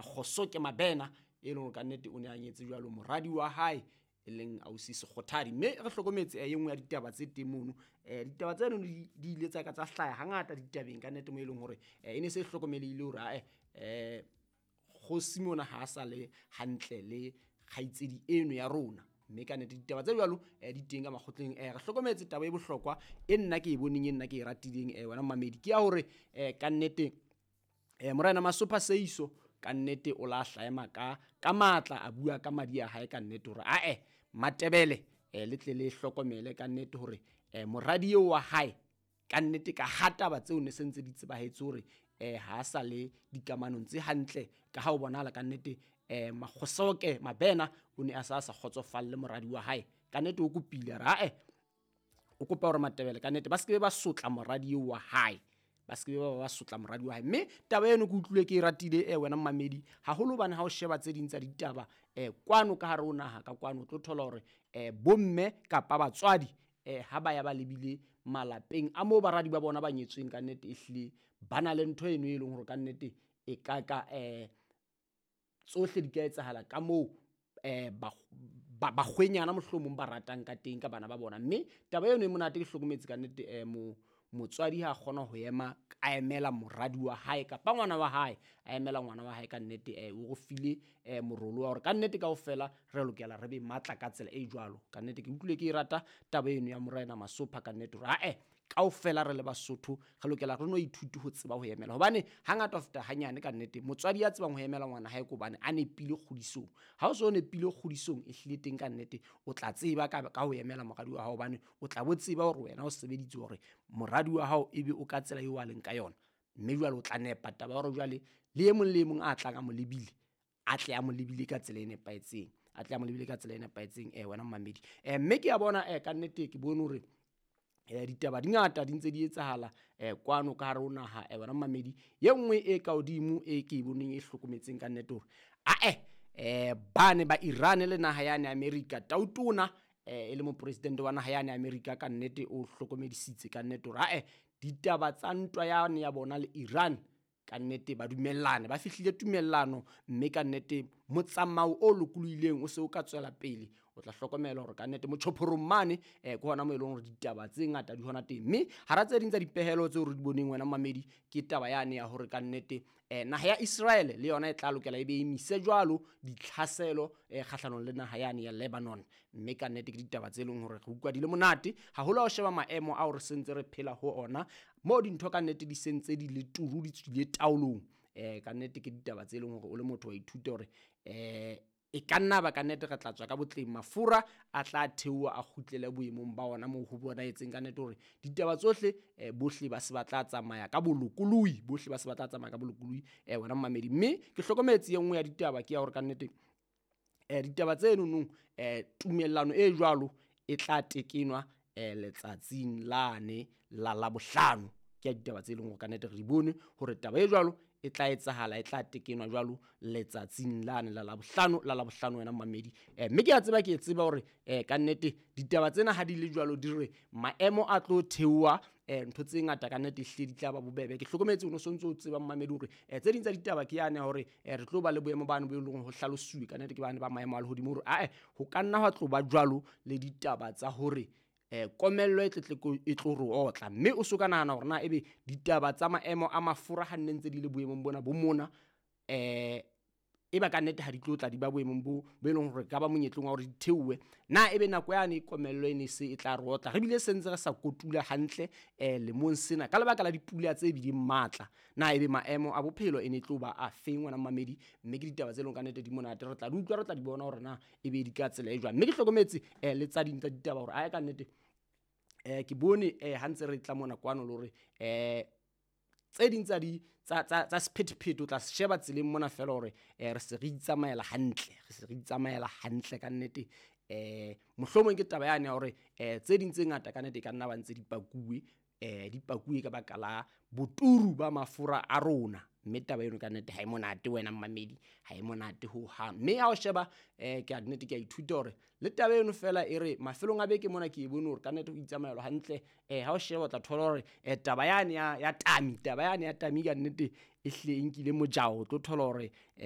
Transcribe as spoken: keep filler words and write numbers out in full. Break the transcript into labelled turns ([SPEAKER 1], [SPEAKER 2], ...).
[SPEAKER 1] Makgosoke Mabena e leng hore kannete o ne a nyetse jwalo moradi wa hae e leng ausi Sekgothadi. Mme re hlokometse e nngwe ya ditaba tse teng mono, um ditaba tseno di di ile tsa ka tsa hlaha hangata ditabeng kannete, mo e leng hore e ne se e hlokomelehile hore ae um kgosi mona ha a sa le hantle le kgaitsedi eno ya rona. Mme kannete ditaba tse jwalo um di teng ka makgotleng. um Re hlokometse taba e bohlokwa e nna ke e boneng, e nna ke e ratileng um wena mmamedi, ke ya hore um kannete um Morena Masopha Seiso kannete o la hlaema ka ka matla, a bua ka madi a hae kannete hore ae Matebele um le tle le hlokomele kannete hore um moradi eo wa hae kannete ka ha taba tseo ne se ntse di tsebahetse hore um ha sa le dikamanong tse hantle, ka ha o bonahala kannete um Makgosoke Mabena o ne a sa sa kgotsofalle moradi wa hae. Kannete o kopile a re ae o kopa hore Matebele kannete ba se ke ba sotla moradi eo wa hae, ba se ke ba ba sotla moradi wa hae. Mme taba eno ke utlwile ke e ratile e wena mmamedi haholo, hobane ha o sheba tse ding tsa ditaba um kwano ka hare ho naha ka kwano, o tlo thola hore um bomme kapa batswadi um ha ba ya ba lebile malapeng a moo baradi ba bona ba nyetsweng, kannete ehlile ba na le ntho eno e leng hore kannete e ka ka um tsohle di ka etsahala ka moo um bakgwenyana mohlomong ba ratang ka teng ka bana ba bona. Mme taba eno e monate, ke hlokometse kannete um motswadi ha a kgona ho ema a emela moradi wa hae kapa ngwana wa hae, a emela ngwana wa hae kannete um o re file um morolo wa hore kannete kaofela re lokela re be matla ka tsela e jwalo. Kannete ke utlwile ke e rata taba eno ya Morena Masopha kannete hore ae kaofela re le Basotho re lokela re no ithute ho tseba ho emela, hobane hangata ho feta hanyane kannete motswadi ya tsebang ho emela ngwana hae ke hobane a nepile kgodisong. Ha o so nepile kgodisong e hlile teng kannete o tla tseba ka, ka ho emela moradi wa hao, hobane o tla bo tseba hore wena o sebeditse hore moradi wa hao ebe o ka tsela eo a leng ka yona. Mme jwale o tla nepa taba ya hore jwale le e mong le e mong a tlang a mo lebile, a tle a mo lebile ka tsela e nepahetseng, a tle a mo lebile ka tsela e nepahetseng um wena mmamedi. um Mme ke a bona um kannete ke bone hore um ditaba di ngata di ntse di etsahala um kwano ka hare ho naha um wena mmamedi. Ye nngwe e ka hodimo e ke e boneng e hlokometseng kannete hore ae um bane ba Iran le naha yane America, tautona um e le mopresidente wa naha yane America kannete o hlokomedisitse kannete hore ae ditaba tsa ntwa yane ya bona le Iran kannete ba dumellane, ba fihlile tumellano, mme kannete motsamao o lokolohileng o se o ka tswela pele. O tla hlokomela hore kannete motjhophorong mane um ke hona moo e leng hore ditaba tse ngata di hona teng. Mme hara tse ding tsa dipehelo tseo re di boneng wena mamedi, ke taba yane ya hore kannete um naha ya Israel le yona e tla lokela e be emise jwalo ditlhaselo um kgahlanong le naha yane ya Lebanon. Mme kannete ke ditaba tse leng hore re utlwa di le monate haholo ha o sheba maemo ao re sentse re phela ho ona, moo dintho kannete di sentse di le turu, di tswile taolong. um Kannete ke ditaba tse leng hore o le motho wa ithuta hore um e ka nna ba kannete re tla tswa ka botleng, mafura a tla theoha a kgutlele boemong ba ona moo ho bonahetseng kannete hore ditaba tsohle um bohle ba se ba tla tsamaya ka bolokolohi, bohle ba se ba tla tsamaya ka bolokolohi um wena mmamedi. Mme ke hlokometse e nngwe ya ditaba ke ya hore kannete um ditaba tse nonong um tumellano e jwalo e tla tekenwa um letsatsing lane la Labohlano. Ke ya ditaba tse leng hore kannete re di bone hore taba e jwalo e tla etsahala, e tla tekenwa jwalo letsatsing lane la Labohlano, la Labohlano wena mmamedi. um Mme ke a tseba, ke tseba hore um kannete ditaba tsena ha di le jwalo di re maemo a tlo theoha, um ntho tse ngata kannete ehlile di tla ba bobebe. Ke hlokometse o no sontso o tseba mmamedi hore um tse ding tsa ditaba ke yane ya hore um re tlo ba le boemo bane bo e leng ho hlalosuwe kannete ke bane ba maemo a lehodimo hore ae ho ka nna hwa tlo ba jwalo le ditaba tsa hore um komello e tletle e tlo re otla. Mme o so ka nahana hore na ebe ditaba tsa maemo a mafura ha nne ntse di le boemong bona bo mona um e ba kannete ha di tlo tla di ba boemong bo bo e leng hore ka ba monyetleng wa hore di theohe, na ebe nako yane komello e ne se e tla re otla, re bile se ntse re sa kotula hantle um lemong sena ka lebaka la dipula tse bileng matla, na ebe maemo a bophelo e ne tlo ba a feng wena mmamedi? Mme ke ditaba tse leng kannete di monate, re tla di utlwa, re tla di bona hore na ebe di ka tsela e jwang. Mme ke hlokometse um le tsa ding tsa ditaba hore ae kannete um ke bone um ha ntse re tla mona kwano le hore um tse ding tsa di tsa tsa tsa sephethephethe o tla sheba tseleng mona fela hore um re se re itsamaela hantle, re se re itsamaela hantle kannete. um Mohlomong ke taba yane ya hore um tse ding tse ngata kannete e ka nna ba ntse di pakuwe, um di pakuwe ka baka la boturu ba mafura a rona. Mme taba eno kannete ha e monate wena mmamedi, ha e monate hohang. Mme ha o sheba um ke a nnete ke a ithuta hore le taba eno fela e re mafelong a beke mona ke e bone hore kannete ho itsamaelwa hantle. um Ha o sheba o tla thola hore um taba yane ya ya tami, taba yane ya tami kannete e hlile e nkile mojao, o tlo thola hore um